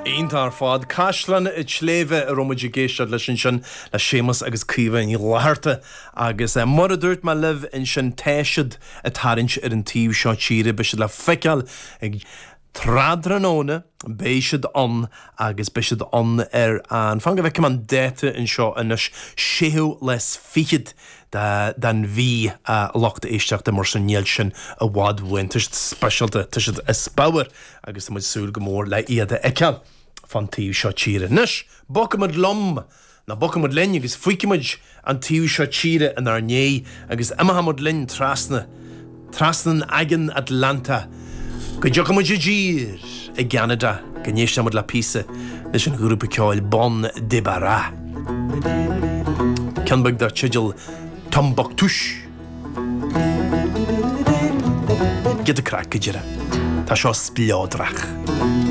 Iontach ar fad. Caisleán an tSléibhe a raibh muid ag éisteacht leis ansin le Séamus agus Caoimhe Ní Fhlatharta agus mar a dúirt mé libh ansin tá siad ag tarraingt ar an taobh seo tíre, beidh siad le feiceáil ag tráthnóna, beidh siad ann agus beidh siad ann ar an, fan go bhfeicfidh mé an dáta anseo anois, séú lá is fichead den mhí a lucht éisteachta mar sin níl sin i bhfad uainn. Tá siad speisialta, tá siad as pabhar agus tá muid ag súil go mór le iad a fheiceáil fán taobh seo tíre. Anois, bogfaimid liom, nó bogfaimid linn agus fágfaimid an taobh seo tíre inár ndiaidh agus imeochaimid linn trasna, trasna an Aigéin Atlantach go dtiocfaimid i dtír i gCeanada go n-éistfimid le píosa leis an ghrúpa ceoil Bon Débarras. Ceann beag dar teideal Tombouctouche. Giota craic go deireadh. Tá seo spleodrach.